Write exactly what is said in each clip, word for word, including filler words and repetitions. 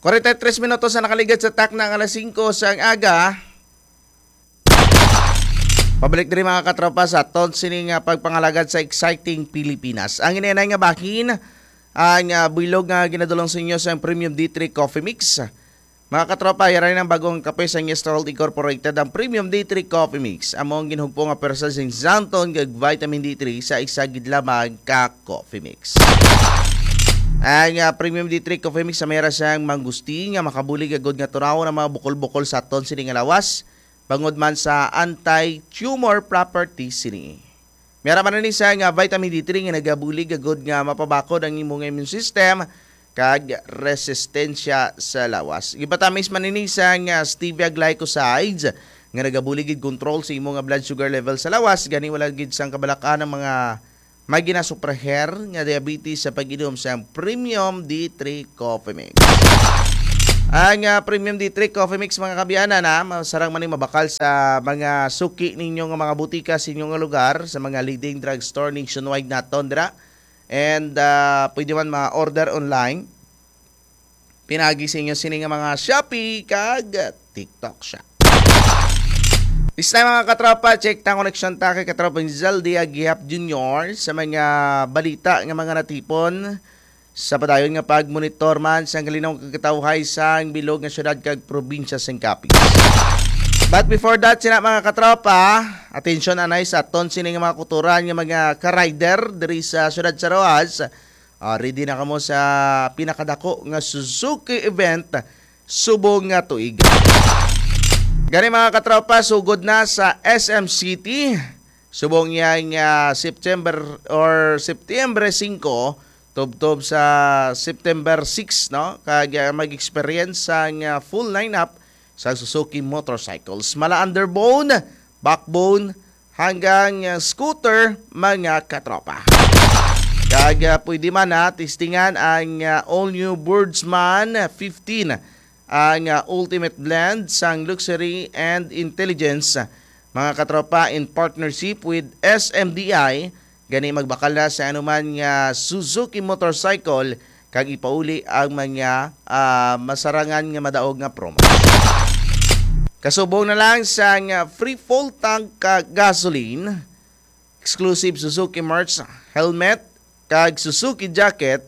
Kwarenta y tres minutos na nakaligad sa takna nga alas singko sang aga. Pabalik diri, mga katropa, sa aton sini nga pagpangalagad sa Exciting Pilipinas. Ang inanay nga bahin, ang, ah, bilog nga ginadulong sa inyo sa Premium D three Coffee Mix. Mga katropa, yara ang bagong kape sa Nestor World Incorporated, ang Premium D three Coffee Mix. Amo ang ginhugpo nga pwersa sing xanthan kag vitamin D three sa isa gid lamang ka coffee mix. Ang, ah, Premium D three Coffee Mix, may ra siyang mangustin nga makabulig agud nga tunawon ang mga bukol-bukol sa aton sini nga lawas, bangod man sa anti-tumor properties sini. May ra man ni siya nga vitamin D three nga nagabulig agud nga mapabakod ang imo nga immune system kag resistensya sa lawas. Gipatamis man ini sa nga stevia glycosides nga nagabulig gid control sa imo nga blood sugar level sa lawas, gani wala gid sang kabalak-an ang mga may ginasupraher nga diabetes sa pag-inom sang Premium D three Coffee Mix. Ang, ah, Premium D three Coffee Mix, mga kabiyanan, ha, masarang man ni mabakal sa mga suki ninyo nga mga butika sa inyo nga lugar, sa mga leading drugstore nationwide naton dira. And, ah, pwede man ma-order online. Pinagi sa inyo sini nga mga Shopee kag TikTok Shop. This time, mga katropa, check ta ang koneksyon ta kay Katropa Zaldi Agiap Junior sa mga balita nga mga natipon sa padayon nga pagmonitor man sa kalinaw kag katawhay sang bilog nga syudad kag probinsya sang Capiz. But before that, sina, mga katropa, atensyon anay sa aton sini nga mga kutoran nga mga ka-rider diri sa syudad sa Roxas. Ah, ready na kamo sa pinakadako nga Suzuki event subong nga tuig. Gani, mga katropa, sugod na sa S M City subong yang, ah, September or September singko tubtob sa September six, no? Kag, ah, mag-experience sang, ah, full lineup sa Suzuki motorcycles. Mala underbone, backbone, hanggang, ah, scooter, mga katropa. Kag, ah, pwede man na testingan ang, ah, all new Boardsman fifteen, ang, ah, ultimate blend sang luxury and intelligence, mga katropa, in partnership with S M D I. Gani, magbakal na sa anuman nga Suzuki motorcycle kag ipauli ang mga, ah, masarangan nga madaog nga promo. Kasubong na lang sang free full tank ka gasoline, exclusive Suzuki merch, helmet, kag Suzuki jacket,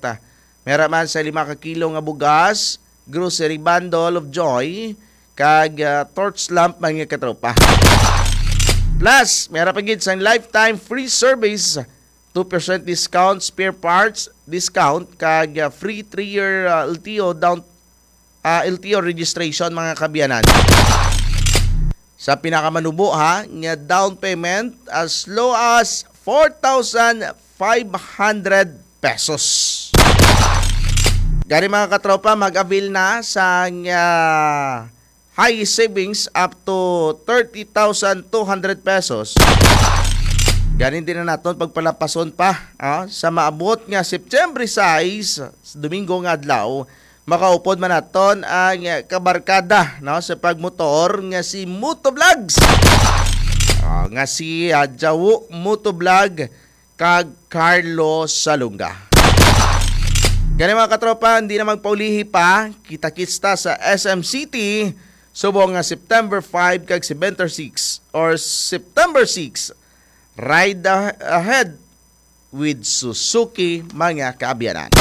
may ra man sa lima ka kilo nga bugas, grocery bundle of joy, kag, ah, torch lamp, mga katropa. Plus, may ra pa gid sang lifetime free service, two percent discount, spare parts discount, kag, ah, free three-year, ah, L T O down, ah, L T O registration, mga kabiyanan. Sa pinakamanubo, ha, nga down payment as low as four thousand five hundred pesos. Gani, mga katropa, mag-avail na sa, ah, high savings up to thirty thousand two hundred pesos. Gani, di na naton pagpalapason pa, ah, sa maabot nga September sais, Domingo nga adlaw, makaupod man naton ang kabarkada, no, sa pagmotor nga si Motovlogs. Ah, nga si, ah, Jawo Motovlog kag Carlo Salonga. Gani, mga katropa, hindi na magpaulihi pa. Kita-kits ta sa S M City subong nga September five kag September six or September six. Ride a- ahead with Suzuki, mga kaabyanan.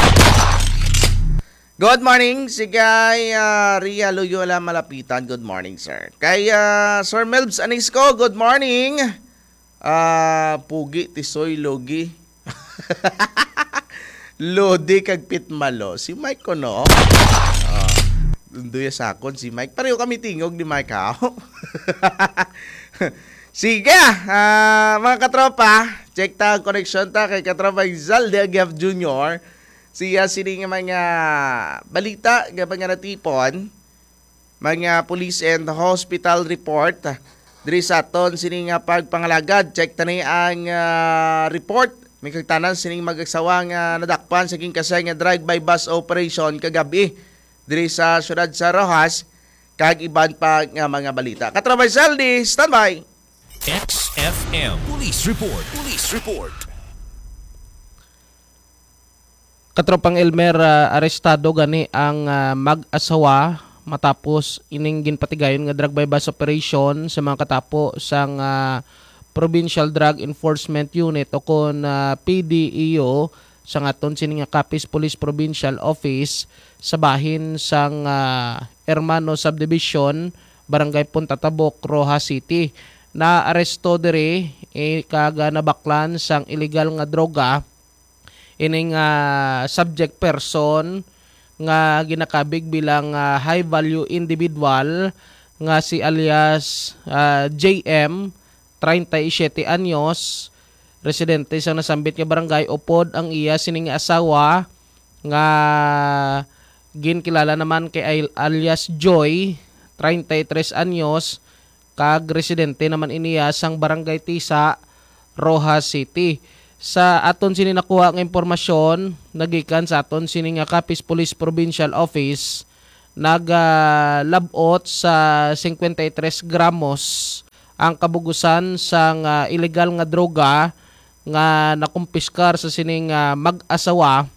Good morning, si kay, ah, Ria Loyola Malapitan. Good morning, sir. Kay, ah, Sir Melbs Anisco, good morning. Ah, pugi, tisoy, logi. Lodi kag pitmalo. Si Mike ko, no? Ah, dunduya sa akon si Mike. Pareho kami tingog ni Mike, ha? Sige, ah, mga katropa, check ta ang koneksyon ta kay katropa Zalde Aguiaf Junior. Siya sini nga mga balita nga mga natipon, mga police and hospital report. Diri sa aton sini nga pagpangalagad, check ta ni ang, ah, report. May kagtanan sining mag-asawa nga nadakpan sa ginkasay nga drive-by bus operation kagabi diri sa siyudad sa Roxas, kag iban pa nga mga balita. Katropa Zaldi, standby. X F M Police Report. Police Report. Katropang Elmer, ah, arestado gani ang, ah, mag-asawa matapos ining ginpatigayon nga drug buy-bust operation sa mga katapo sang, ah, Provincial Drug Enforcement Unit o kon, ah, P D E U sang aton sini nga Capiz Police Provincial Office sa bahin sang, ah, Hermano Subdivision, Barangay Punta Tabok, Roxas City. Naaresto diri, eh, kag, ah, nabaklan sang iligal nga droga ining, ah, subject person nga ginakabig bilang, ah, high value individual nga si alias, ah, J M, treinta y siete anyos, residente sa nasambit nga barangay, upod ang iya sining asawa nga ginkilala naman kay al-, alias Joy, treinta y tres anyos, kag residente naman iniya sang Barangay Tisa, Roxas City. Sa aton sini nakuha nga impormasyon, nagikan sa aton sini nga Capiz Police Provincial Office, nagalab-ot sa cincuenta y tres gramos ang kabugusan sang, ah, iligal nga droga nga nakumpiskar sa sining, ah, mag-asawa,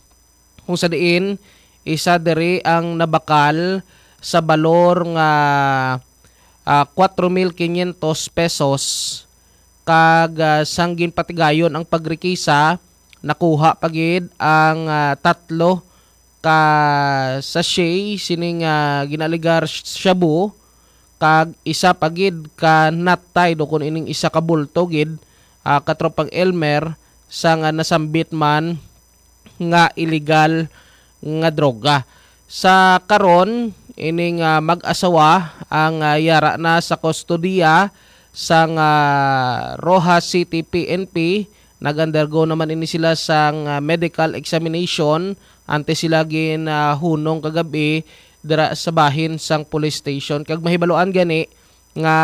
kung sa diin isa diri ang nabakal sa balor nga, ah, cuatro mil quinientos pesos, kag, ah, sang ginpatigayon ang pagrekisa, nakuha pa gid ang, ah, tatlo ka sachet sining, ah, ginaaligar shabu, kag isa pa gid ka nut tied o kon ining isa ka bulto gid, ah, Katropang Elmer, sa nga nasambit man nga iligal nga droga. Sa karon, ining, ah, mag-asawa ang, ah, yara na sa kustodiya sang, ah, Roxas City P N P. Nag-undergo naman ini sila sang, ah, medical examination antes sila ginahunong kagabi dira sa bahin sang police station. Kag mahibaluan gani nga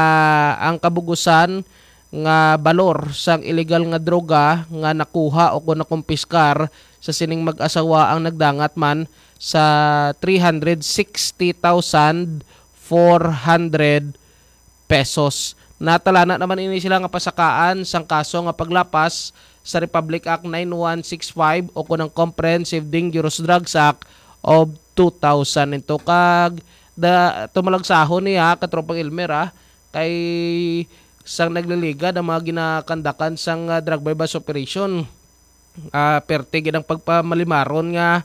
ang kabugusan nga balor sang iligal nga droga nga nakuha o kon nakumpiskar sa sining mag-asawa ang nagdangat man sa three hundred sixty thousand four hundred pesos. Natalana naman ini sila nga pasakaan sang kaso nga paglapas sa Republic Act nine one six five o kon ang Comprehensive Dangerous Drugs Act of two thousand. Ito kag da, tumalagsahon niya, Katropang Elmer, ah, kay sang nagliligad ang mga ginakandakan sang, ah, drug buy-bust operation. Ah, perte gid ang pagpamalimaron nga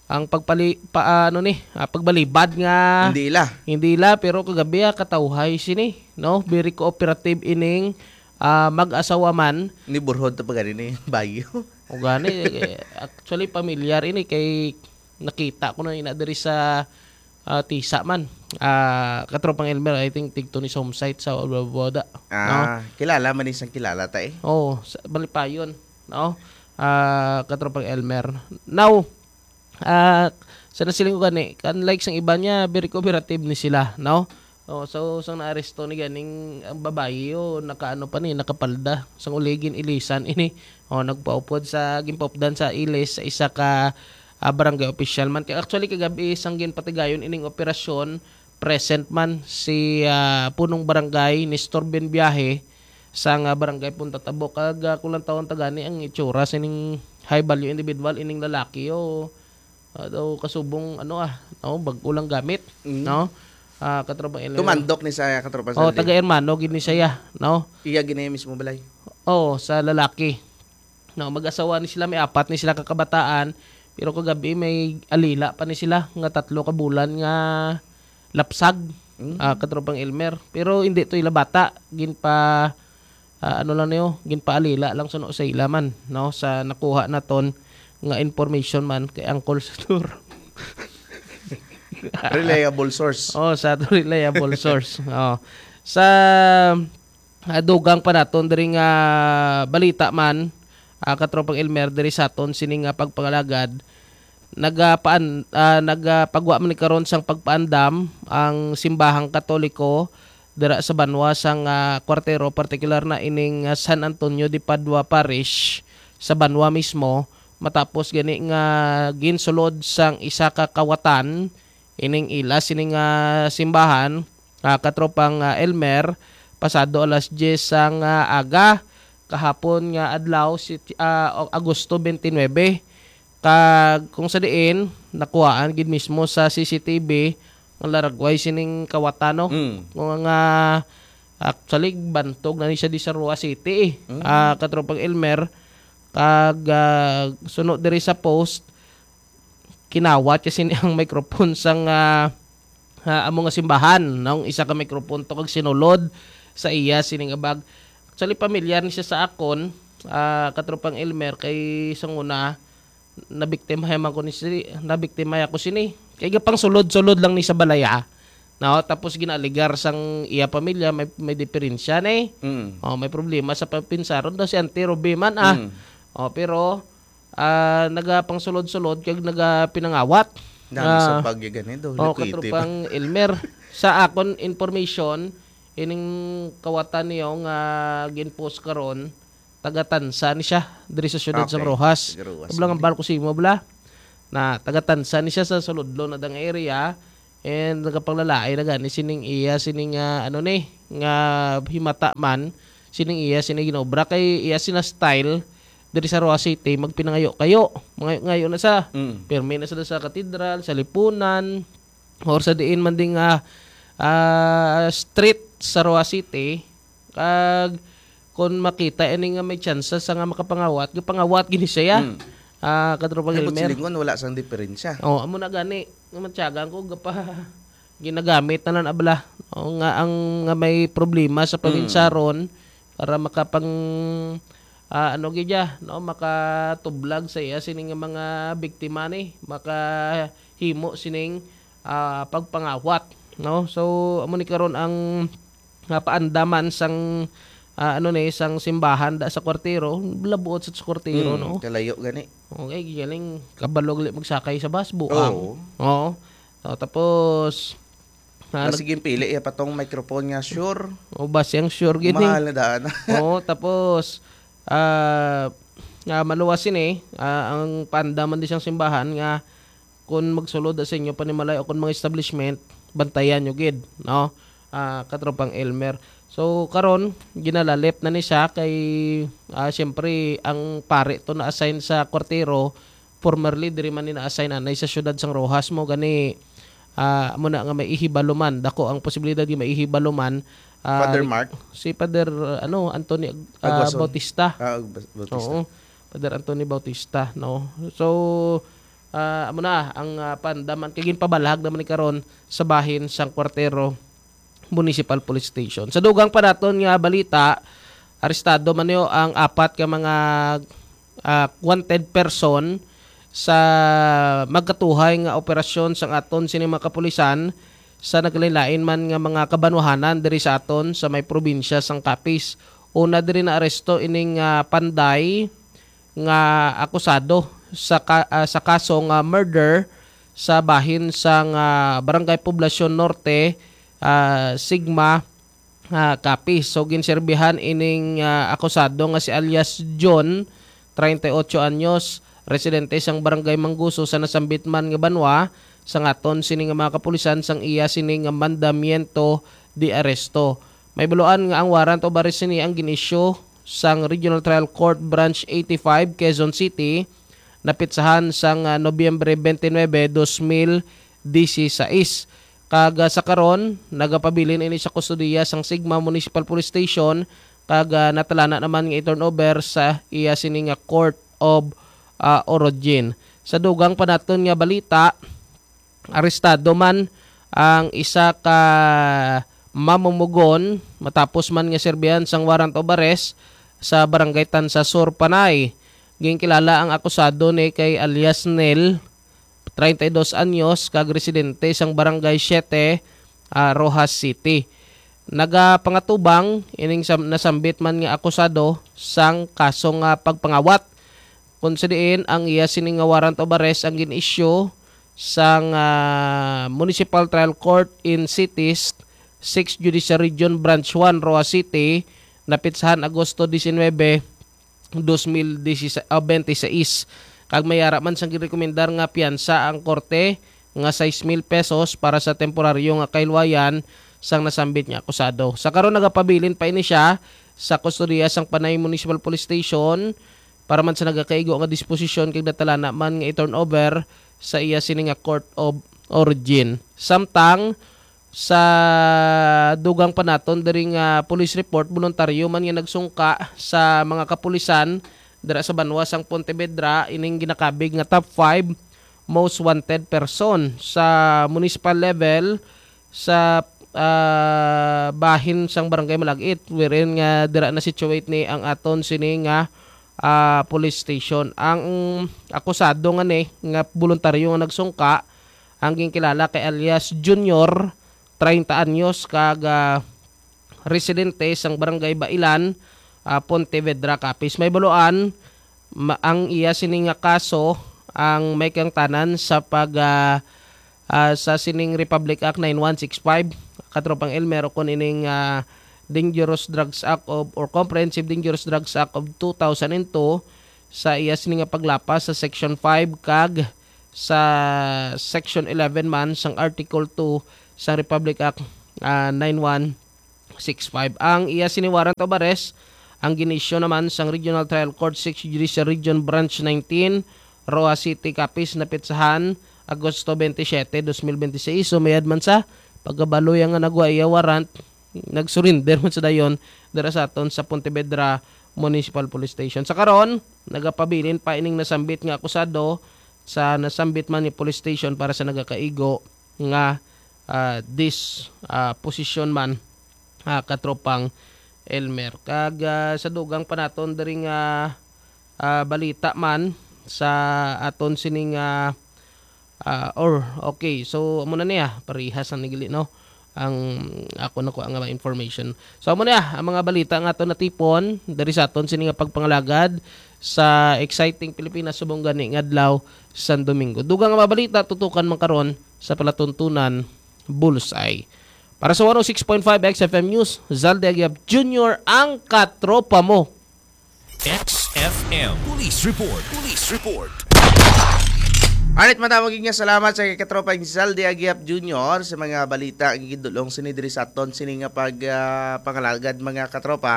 ang pagpali-, pa-, ano ni, ah, pagbalibad nga Hindi ila. hindi ila, pero kagabi, ah, katawhay sini, no? Very cooperative ining, ah, mag-asawa man. Ni Burhod to pa gani ni Bayo. O gani, eh, actually, pamilyar ini kay nakita ko na ina diri sa, ah, Tisa man. Ah, Katropang Elmer, I think tigto ni sa home site sa Boda. Ah, kilala man isang kilala ta eh. Oo, sa Malipayon, no? Ah, Katropang Elmer. Now, ah, sa nasiling ko gani, kan like sang iba niya, very cooperative ni sila, no? Oh, so sang naaresto ni ganing ang babayi, oh, nakaano pa ni, nakapalda. Sang uligin ilisan ini. Oh, nagpaupod sa, ginpaupdan sa ilis sa isa ka, ah, barangay official man. Kay actually, kagabi sang ginpatigayon ining operasyon, present man si, ah, punong barangay Nestor Benviaje sang, ah, barangay Punta Tabok. Kag, ah, kung lang tawon tagani ang itsura sining high value individual, ining lalaki, oh, ah, daw kasubong, ano, ah, no, bag-o lang gamit, Mm. no? Ah, Katropang Elmer. Tumandok ni sa Katropang Oh, Sandy. Taga Hermano gid ni siya, no? Iya gid na mismo balay. Oo, sa lalaki. No, mag-asawa ni sila, may apat ni sila ka kabataan, pero kagabi may alila pa ni sila nga tatlo ka bulan nga lapsag, Mm. ah, Katropang Elmer. Pero hindi to ila bata, ginpa, ah, ano lang niyo, ginpaalila lang suno sa ila man, no, sa nakuha naton nga information man kay Uncle Satur. Reliable source. Oh, sa reliable source. Oh. Sa, ah, dugang pa naton diri nga balita man, ah, Katropang Elmer, diri sa aton sini nga pagpangalagad, nagapaan-, ah, nagapagwa man ni karon sang pagpaandam ang simbahang Katoliko dira sa banwa sang, ah, Cuartero, partikular na ining, ah, San Antonio de Padua Parish sa banwa mismo, matapos gani nga ginsulod sang isa ka kawatan ining ila sining, ah, simbahan, ah, Katropang, ah, Elmer, pasado alas diyes sang, ah, aga kahapon nga adlaw, si, ah, Agosto twenty-nine. Kag kung sa diin, nakuhaan gid mismo sa C C T V ang laragway sining kawatan, no? Mm. Kung nga, actually, bantog na ni siya di sa Roa City, eh. Mm. Ah, Katropang Elmer, kag, ah, suno diri sa post, kinawat siya sini ang microphone sang, ah, ah, amo nga simbahan, no? Isa ka microphone to kag sinulod sa iya sining abag. Actually, pamilyar ni siya sa akon, ah, Katropang Elmer, kay sa una, nabiktima man ko ni si-, nabiktima ako sini. Kay gapang sulod-sulod lang ni sa balaya. No, tapos ginaaligar sang iya pamilya, may, may diferensya na eh. Mm. Oh, may problema sa pagpinsaron daw si Auntie Ruby man, ah. Mm. Oh, pero, ah, nagapangsulod-sulod kag nagapinangawat. Nami sa Ah, pagyagan eh, do, oh, likwiti pa. Katropang Elmer. Sa akon information, ining kawatan niyo nga gin-post karon, taga Tansa ni siya, diri sa siyudad sang Okay. Roxas. Taga Roxas. Abla nga bal ko simo, bla. Na taga Tansa ni siya sa Suludlo na dang area. And nagapanglalay na gani sining iya, sining, ah, ano ni, nga himata man, sining iya, sining ginobra kay iya sina style diri sa Roxas City, magpinangayo-kayo. Mangayo-ngayo na sa, Mm. pirmi na sila sa katedral, sa lipunan, or sa diin man ding, ah, ah, street sa Roxas City. Kag kung makita ini nga may tsansa sa nga makapangawat, gapangawat gini siya. Mm. Ah, Katropang Ay, but Elmer. Silingon, wala sang diferensya. Oh, amo na gani. Nga matyagan ko, gapa-, ginagamit na lang abla. Oh, nga ang, nga may problema sa Mm. paghinsaron para makapang, ah, ano gid ya, no, makatublag sa iya sini nga mga biktima ni, makahimo sining, ah, pagpangawat, no? So, amo ni karon ang nga paandaman sang, ah, ano ni, sang simbahan da sa Kwartero, labuot sa Kwartero, Mm, no? Kalayo gani. Okay, galing kabalo gali magsakay sa bus, buang. Oo. Oo. So, tapos, ah, nag- Masiging pili, iya pa tong microphone nga, sure. O, ba siyang sure gid, eh. Mahal na daan. Oo, tapos, ah, nga maluwas sini, ah, ang paandaman di siyang simbahan nga kung magsulod sa inyo panimalay o kung mga establishment, bantayan nyo gid, no? Ah, Katropang Elmer. So, karon, ginalalip na ni siya kay, ah, siyempre, ang pare to na-assign sa Kwartero, formerly, diri man ni na-assign anay sa siyudad sang Roxas mo, gani, ah, amo na nga may ihibalo man. Dako ang posibilidad nga may ihibalo man, ah, Father Mark? Si Father, ano, Anthony, ah, Aguason. Bautista. Ah, Bas-, Bautista. Oo. Father Anthony Bautista, no? So, ah, amo na ang, ah, pandaman kay ginpabalhag naman ni karon sa bahin sang Kwartero Municipal Police Station. Sa dugang pa naton nga balita, arestado man niyo ang apat ka mga, ah, wanted person sa magkatuhay nga operasyon sang aton sini mga kapulisan sa naglain-lain man nga mga kabanwahanan diri sa aton sa may probinsya sang Capiz. Una diri naaresto ining, ah, panday nga akusado sa ka-, ah, sa kaso nga murder sa bahin sang, ah, Barangay Poblacion Norte, ah, Sigma, ah, Capiz. So, ginserbihan ining, ah, akusado nga si alias John, treinta y ocho anyos, residente sang Barangay Manguso sa nasambit man nga banwa, sa ngaton sini nga mga kapulisan sang iya sini nga mandamiento de arresto. May baluan nga ang warrant of arrest sini ang gin-issue sang Regional Trial Court Branch eighty-five, Quezon City, napitsahan sang, ah, Nobyembre twenty-nine, dos mil dieciséis. Kag, ah, sa karon, nagapabilin ini sa kustodiya sang Sigma Municipal Police Station, kag, ah, natalana naman nga i-turnover sa iya sini nga court of, ah, origin. Sa dugang pa naton nga balita, arestado man ang isa ka mamumugon matapos man nga serbihan sang warrant of arrest sa Barangay Tansa Sur, Panay. Ginkilala ang akusado ni kay alias Nel, treinta y dos anyos, kag residente sang Barangay Siete, ah, Roxas City. Nagapangatubang ining sam-, nasambit man nga akusado sang kaso nga pagpangawat, kung sa diin ang iya sini nga warrant of arrest ang gin-issue sang, ah, Municipal Trial Court in Cities, Sixth Judicial Region, Branch one, Roxas City, napitsahan Agosto diecinuebe, dos mil dieciséis, ah, veintiséis. Kag may ara man sang girekomendar nga piyansa ang korte nga sais mil pesos para sa temporaryo nga kahilwayan sang nasambit nga akusado. Sa karon, nagapabilin pa ini siya sa kustodiya sang Panay Municipal Police Station, para man sa nagakaigo nga disposisyon kag natalana man nga i-turnover sa iya sini nga court of origin. Samtang sa dugang pa naton diri nga police report, boluntaryo man nga nagsungka sa mga kapulisan dira sa banwa sang Pontevedra ining ginakabig nga top five most wanted person sa municipal level sa, ah, bahin sang Barangay Malagit, wherein nga dira na situate ni ang aton sini nga, ah, police station. Ang akusado nga ni nga boluntaryo nga nagsungka ang ginkilala kay alias Junior, treinta anyos, kag, ah, residente sang Barangay Bailan, ah, Pontevedra, Capiz. May baluan, ma-, ang iya sini nga kaso ang may kaangtanan sa pag, ah, ah, sa sining Republic Act nine one six five, Katropang Elmer, o kon ining, ah, Dangerous Drugs Act of, or Comprehensive Dangerous Drugs Act of two thousand and two, sa iya sini nga paglapas sa Section five kag sa Section eleven man sang Article two sa Republic Act, ah, nine one six five. Ang iya sini warrant of arrest ang gin-issue naman sang Regional Trial Court, Sixth Judicial Region, Branch nineteen, Roxas City, Capiz, napetsahan Agosto twenty-seven, twenty twenty-six. So, mayad man sa pagkabalo iya nga nagwa iya warrant, nag-surrender man sa dayon dira sa aton sa Pontevedra Municipal Police Station. Sa karon, nagapabilin pa ining nasambit nga akusado sa nasambit man ni police station para sa nagakaigo nga, ah, dis-, ah, position man, ah, Katropang Elmer. Kag, ah, sa dugang pa naton diri nga, ah, balita man sa aton sining, ah, ah, or, okay, so amo na niya, parehas ang nagili, no? Ang ako nakuha nga mga information. So amo niya ang mga balita nga aton natipon diri sa aton sini nga pagpangalagad sa exciting Pilipinas subong gani nga adlaw sang Domingo. Dugang nga mga balita tutukan man karon sa palatuntunan Bullseye. Para sa one oh six point five X F M News, Zalde Agiap Junior, ang katropa mo. X F M Police Report. Police Report. Alright, madamo gid nga salamat sa katropang Zalde Agiap Junior sa mga balita nga gidulong sini diri sa aton sini nga pag, ah, pangalagad, mga katropa,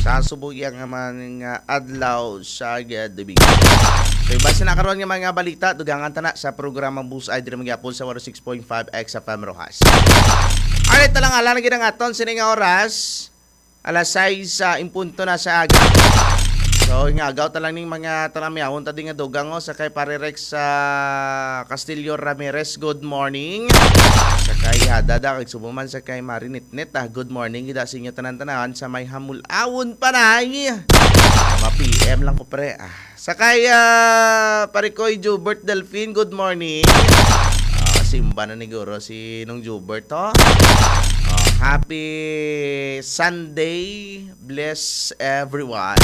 sa subong iya nga mga adlaw sa Domingo. So, base na karon nga mga balita, dugangan ta na sa programa Bullseye diri man gyapon sa one oh six point five X F M Roxas. Alright, talang-ala na gid ang aton sini nga oras. Alas sais sa impunto na sa aga. So, ingagaw ta lang ning mga talamyawon ta di nga dugang, oh, sa kay Pare Rex sa Castillo Ramirez, good morning. Sa kay Hadada, kag subo man sa kay Marinitnit, ah, good morning gid sa inyo tanan-tanan sa may Hamulawon, Panay. Mga P M lang ko, pre. Ah, sa kay, ah, Pare Koy Jubert Delfin, good morning. Ah, simba na ni Guro si Nong Jubert, ho? Ah, happy Sunday. Bless everyone.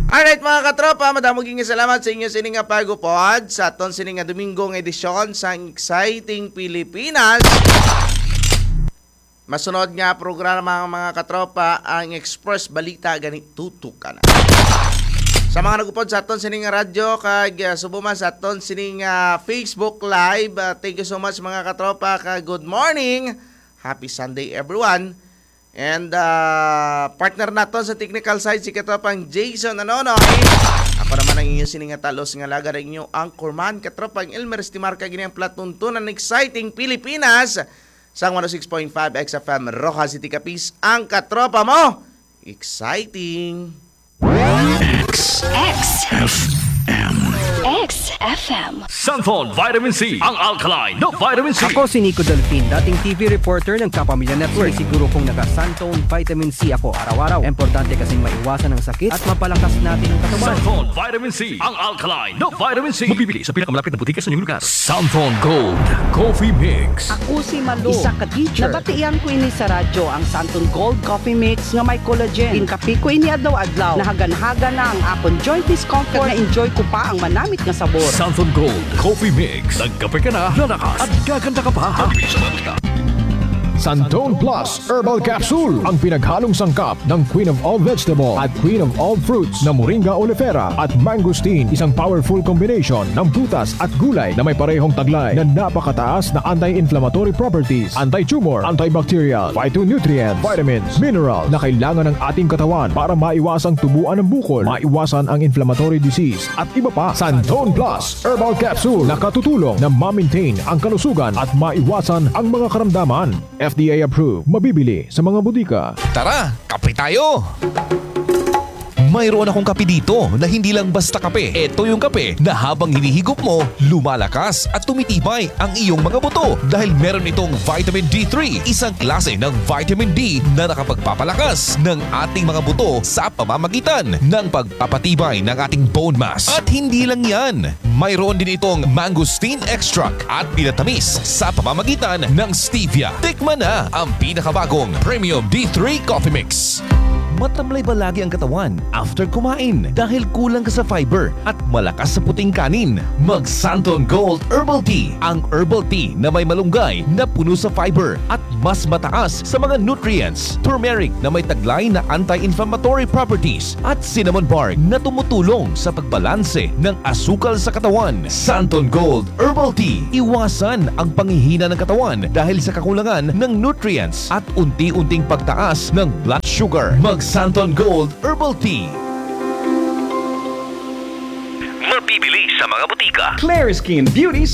Alright, mga katropa, madamo gid nga salamat sa inyo sini nga pag-upod sa aton sini nga Domingo nga edisyon sang Exciting Pilipinas. Masunod nga programa, mga katropa, ang Express Balita gani tutukan na. Sa mga nag-upod sa aton sini nga radyo kag, ah, subo man sa aton sini nga Facebook Live, ah, thank you so much, mga katropa, kag good morning. Happy Sunday, everyone. And, ah, partner naton sa technical side, si katropang Jason Anonoy. Ako naman ang inyo sini nga talos nga laga, ang inyo anchorman, katropang Elmer Estimarca, gini ang palatuntunan Exciting Pilipinas sang one oh six point five X F M Roxas City, Capiz, ang katropa mo. Exciting! X. X. F M. X F M. Santhon Vitamin C, ang alkaline na vitamin C. Ako si Nico Delfin, dating T V reporter ng Kapamilya Network. Siguro kung naka-Santhon Vitamin C ako araw-araw. Importante kasing maiwasan ang sakit at mapalakas natin ang katawan. Santhon Vitamin C, ang alkaline na vitamin C. Mabibili sa pinakamalapit na butika sa inyong lugar. Santhon Gold Coffee Mix. Ako si Malu, isa ka teacher. Nabatian ko ini sa radyo, ang Santon Gold Coffee Mix nga may collagen. Ginkape ko ini adlaw-adlaw. Nahaganhaga na ang akon joint discomfort. Kag na-enjoy ko pa ang manamit nga sabor. Santon Gold Coffee Mix. Nagkape ka na, lalakas, at gaganda ka pa. Mabibili sa mga butika. Santon Plus Herbal Capsule, ang pinaghalong sangkap ng Queen of All Vegetable at Queen of All Fruits na Moringa oleifera at Mangosteen, isang powerful combination ng prutas at gulay na may parehong taglay na napakataas na anti-inflammatory properties, anti-tumor, antibacterial, phytonutrient, vitamins, mineral na kailangan ng ating katawan para maiwasang tubuan ng bukol, maiwasan ang inflammatory disease, at iba pa. Santon Plus Herbal Capsule nakatutulong na ma-maintain ang kalusugan at maiwasan ang mga karamdaman. F D A approved. Mabibili sa mga botika. Tara, kape tayo! Mayroon akong kape dito na hindi lang basta kape. Ito yung kape na habang hinihigop mo, lumalakas at tumitibay ang iyong mga buto dahil meron itong vitamin D three, isang klase ng vitamin D na nakapagpapalakas ng ating mga buto sa pamamagitan ng pagpapatibay ng ating bone mass. At hindi lang yan, mayroon din itong mangosteen extract at pinatamis sa pamamagitan ng stevia. Tikman na ang pinakabagong Premium D three Coffee Mix. Matamlay ba lagi ang katawan after kumain dahil kulang ka sa fiber at malakas sa puting kanin? Mag Santon Gold Herbal Tea, ang herbal tea na may malunggay na puno sa fiber at mas mataas sa mga nutrients. Turmeric na may taglay na anti-inflammatory properties at cinnamon bark na tumutulong sa pagbalanse ng asukal sa katawan. Santon Gold Herbal Tea. Iwasan ang panghihina ng katawan dahil sa kakulangan ng nutrients at unti-unting pagtaas ng blood sugar. Mag Santon Gold Herbal Tea. Mabibili sa mga butika. Clariskin Beauty sa